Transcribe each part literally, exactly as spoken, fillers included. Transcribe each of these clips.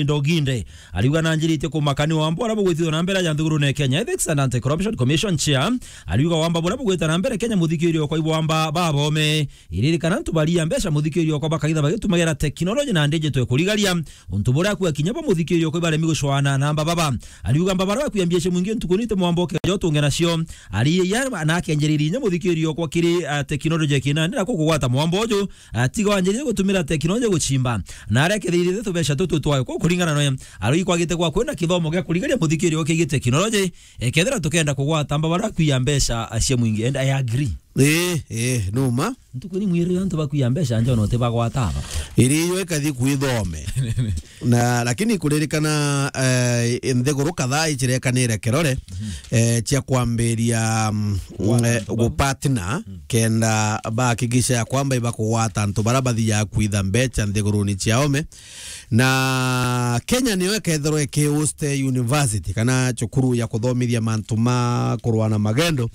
Ndoginde. Ariuga nanjiritie kumaka ni wamba uria bugwithithwa na mbere aja nthigurune Kenya. Ethics and Anti-Corruption Commission Chair ariuga wamba buria bugwita na mbere Kenya, muthikiriria okwa, ibo wamba babome. Iririkana antu baria mbeca, muthikiriria okwa, bakaitha bagitumagira teknoloji na ndiji twekurigaria. Untu buria akua kinya bo, muthikiriria okwa, ibaremi gucwana na mbababa. Ariuga mbabara bakua mbia cia mwingi ntuku nite mwamba ukeja utunge nacio. Ari ya na akenjiriria inya, muthikiriria okwa, kiri, ah, teknoloji kina ndira kugwata mwamba uju. Ah, tiga wanjiririe gutumira teknoloji guchimba. Na aria kethirite tubeca tutu twayo ku kuringana nawe. Arui kwagite kwa kwina kithomo gia kurigaria muthikiriria okwa kigie teknoloji. Ekethira tukenda kugwata mbabara kuia mbeca, ah, cia mwingi. And I agree. Eh, eh, numa. Ntuku ni mwirire antu bakuia mbeca nja ona utibagwata aba. Iri yo ikathi kwithome. Na, lakini kuririkana, eh, nthiguru kadhaa ichirekanire kirore, eh, cia kwambiria, mm, eh, gupartner, kenda bahakikisha ya kwamba ibakugwata antu bara bathiaga kwitha mbeca nthiguruni cia ome. Na Kenya niyo ikethirwa ikihost university kana cukuru ya kuthomithia mantu ma kurwa na magendo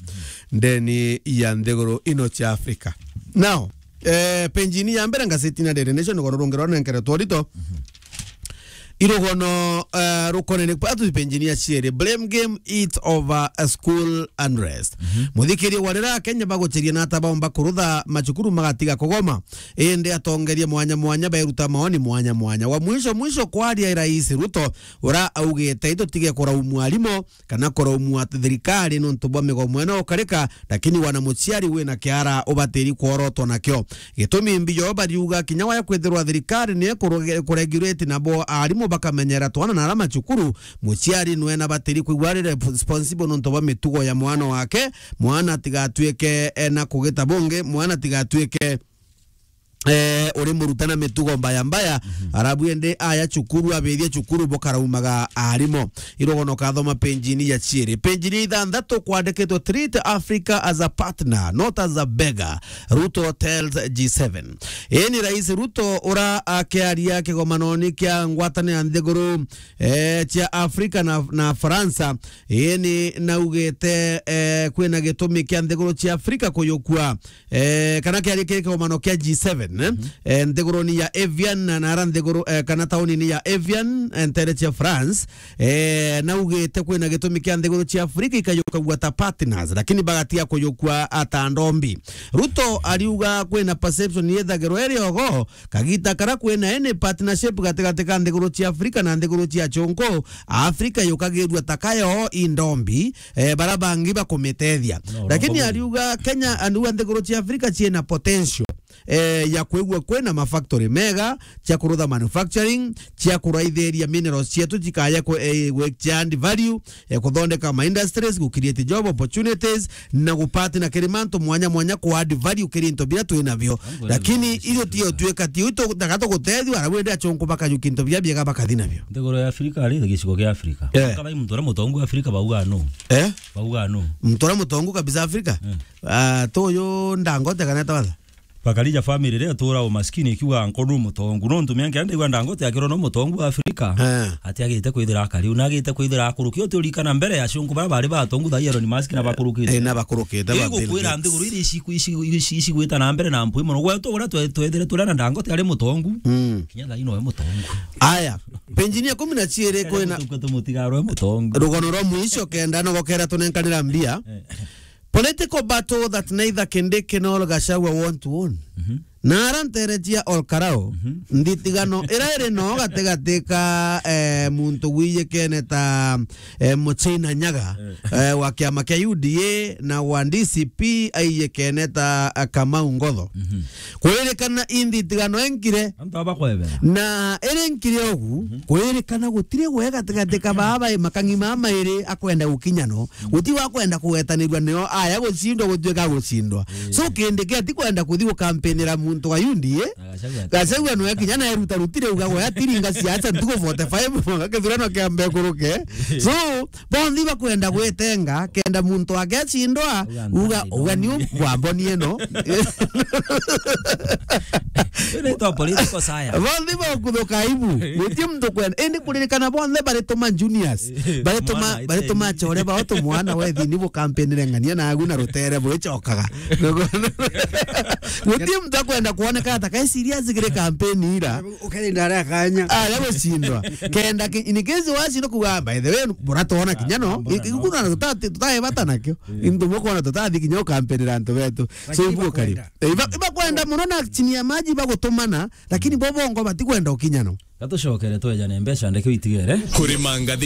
ndeni ya nthiguru ino cia Africa. Now, eh, penjini ya mbere ngazetini ya Daily Nation, rugono rungi rwa nenkere twarito. Irugono, eh, rukonene kwa tu penjini ya cieri. Blame game eat over a school unrest. Muthikiri wa rira Kenya baguchiria na ata baumba kurutha macukuru magatiga kugoma. Indi atongeria mwanya mwanya beruta maoni mwanya mwanya. Wa mwisho mwisho kwaria Rais Ruto, ura augite itutige kuraumu arimu kana kuraumua thirikari nontu bwa migomo ino ukarika, lakini wana muciari wina kiara ubatiri kworotwa nakio. Gitumi mbio bariuga kinya waya kwithirwa thirikari ni kuregulate nabo arimu bakamenyera twana na ara macukuru, muciari nwena batiri kwigua ari responsible nontu bwa mitugo ya mwana wake. Mwana tigatuike ena kugita bungi, mwana tigatuike eh, uri murutana mitugo mbaya mbaya, arabu ende aya cukuru, abethia cukuru bukaraumaga arimo. Irogono kathoma penjini ya ciiri. Penjini ya ithanthatu kwandikitwe, "Treat Africa as a partner, not as a beggar," Ruto tells G seven. Ii ni Rais Ruto ura akiaria kigomanoni kia ngwataniro ya nthiguru, eh, cia Africa na, na Faransa. Ii ni naugite, eh, kwina gitumi kia nthiguru cia Africa kuyukua eh, kana kiari kiri kiumano kia G seven, eh? Eh, nthiguruni ya Evian na, na ara nthiguru, eh, kana taunini ya Evian, eh, ntere cia France, eh, naugite kwina gitumi kia nthiguru cia Afrika ikayukagua ta partners, lakini bagatiga kuyukua ata ndombi. Ruto ariuga kwina perception yethagirwa iri ogo, kagita kara kwina any partnership gatigati ka nthiguru cia Afrika na nthiguru cia chonko, Afrika yukagirua ta kayo i ndombi, eh, bara bangi bakumitethia. No, lakini no, ariuga Kenya, ariuga nthiguru cia Afrika ciina potential, eh, ya kwigua kwina mafactory mega, cia kurutha manufacturing, cia kuraithiria minerals cietu cikaye ku, eh, gwe-, cia add value, eh, kuthondeka ma industries, gu create job opportunities, na gupati na kiri mantu mwanya mwanya ku add value kiri into bira twina bio. Lakini ithu tio twika, tio itu daga tugutethia, ara wende achonko bakajukia into bia biega bakathi nabio. Nthiguru ya Afrika ari gicigo gia Afrika. Eh. Kaba muntu uria mutongu Afrika bauga no. Eh? Bauga no. Muntu uria mutongu kabisa Afrika? Eh. Ah, tuyu Dangote kana etawa atha? Bakarija family iria itura umaskini ikiuga anko nu mutongu. Nontu mianka ya ndaigua Dangote akirwa no mutongu wa Afrika. Eh. Ati agite kwithira akari, una agite kwithira akuruki. Uti urikana mbere ya shunku bara bari batongu thaa Elon Musk na bakurukite. Eh, na bakurukite. Iri gukwira nthiguru iri ici, ici, ici, ici gwita na mbere na mpwi mono. Gwetu uria twe-, twethire turia na Dangote ari mutongu. Mm. Kinya thaa ino we mutongu. Aya, penjini ya kumi na ciiri kwina tukwe tumutigarwe mutongu. Rugono rwa mwisho kenda no gokera tunenkanira mbia. Eh. Political battle that neither Kindiki nor Gachagua want to win. Mhm. Na ara ntere cia Ol Kalou, mhm, nthitigano ira iri no gatigati ka, eh, muntu wijikene ta, eh, Muchina Nyaga, eh, eh, wa kiama kia U D A na wa D C P aijikene ta, eh, Kamau Ngotho. Mhm. Kuririkana i nthitigano enkire. Antu aba kwebera. Na iri nkire ugu, mhm, kuririkana gutiri gwe gatigati ka baba makang'i mama iri akwenda gukinya no. Guti wa kwenda kugwetanirua nio aya gucindwa gutuika gucindwa. Eh. So, Kindiki ati kwenda kuthi gukampinira muntu wa U D A. Na Gachagua ati Gachagua nwe kinya na eruta rutire uga gwe atiringa siasa ntuku forty-five mwaka kithurano kiambe kuruke. So, bonthe bakwenda gwetenga, kenda muntu wake acindwa, uga, uga, uga ni u-, wambonie no. Inaitwa political science. Bonthe bakuthuka aibu. Guti muntu kwenda. Indi kuririkana bonthe barituma juniors. Eh, barituma, mwana, barituma ite. Chore bao tumwana we thini bukampinire ng'ania na agu na rutere burichokaga. Guti muntu akwenda kuoneka ata kai serious kiri kampeni ira. Ukarinda aria kanya. Aria gucindwa. Kenda ki-, in case wacindwa kuga, "Ah, by the way, buratoona kinya no." Ikuna tutati, tutaebata nakio. Into mukona tutathi kinya ukampenera antu betu. So, lakini ibu kari. Ibakwenda. Eh, iba-, ibakwenda muno na chini ya maji bagutumana, lakini bo bongo batikwenda ukinya no. Gatucokere twejane mbeca ndeke witigere. Kurima ngathi